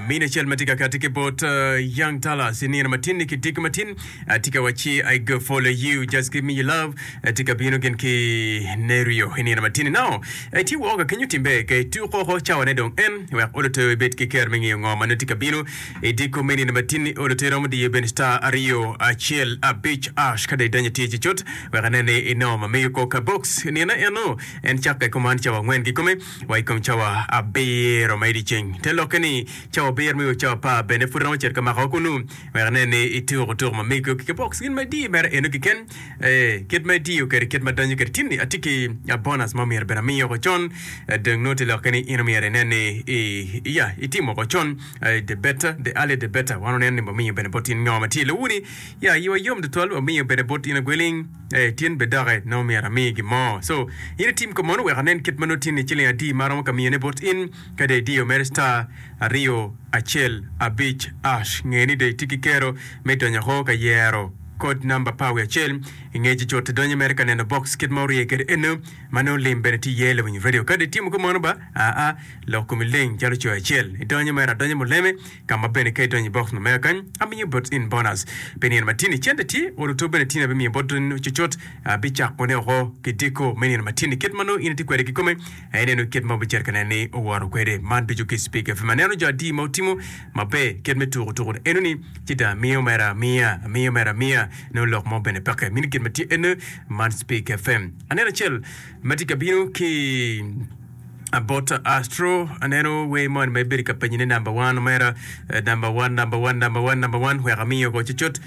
Mine acel ma tye ka kati ki bot Young Dallas i nino matin-ni ki diki matin tye ka wacci I go follow you just give me your love tye ka bino gin ki Nerio i nino matin-ni. Now itye woko ka kenyo timbe ke ituko oko cawane dong en wek oloto ibed ki ker me ngeyo ngo ma nongo tye ka bino i diko me nino matin-ni. Oloto iromo diyo bene star aryo acel abic ash ka dong idonyo tye cucut wek inen ni inongo ma megi ko ka box nino eno en cakke kuman cawa angwen kikome. wa i kom cawa abiro ma i dyeceng. Te lokke ni, cawa abiro me o cawa apar bene pud romo cito ka makowa kunnu wek inen ni ituko tuko ma mego ki box gin ma idiyo mere eno keken. Ee, kit ma itiyo kwede, kit ma donyo kwede tin-ni, atye ki bonus ma myero bene amiyi woko con. Dong nongo te lokke ni in omyero inen ni i, ya, itimo woko con. The better, the earlier the better. Wan waneno ni wamiyo bene bot in ngo ma tye i lowuni. Ya, iwa yom tutwal, wamiyo bene bot in agweling. Ee, tin be doki nongo myero ami gin mo. So, in itim ko mono wek anen kit ma nongo tin-ni ciling adi ma aromo ka miyone bot in. Ka dong idiyo mere star aryo acel abic ash, nge ni dong itye ki kero me donyo oko ka yero kod namba pa wiye acel. I nge ci cut idonyo mere ka neno box kit ma orye kwede eno ma nongo lim bene tye iye lawiny radio. Ka dong itimo kumono ba, aa, lok komi leng calo coyo acel. Idonyo mere adonya muleme. Ka ma bene ka idonyo i box ma mega kany, amiyo bot in bonus pi nino matini. Cente tye, oluto bene tini abimiyo bot in cucut. Abicako ne oko ki diko me nino matini. Kit ma nongo in itye kwede kikome, aye ineno kit ma wubicito ka neno ni owoto kwede. Man ducu ki Speak FM. Aneno jo adi ma wutimo maber kit me tuko tuko enoni, ci dong amiyo mere amiya, amiyo mere amiya, nongo lok mo bene peke. Mini gin ma tye eno, man Speak FM. Aneno acel ma tye ka bino ki. Bot Astro, aneno wer moni ma ibedo ka penyo ni number one omera, number one, number one, number one, number one, wek amiyo ko cucut.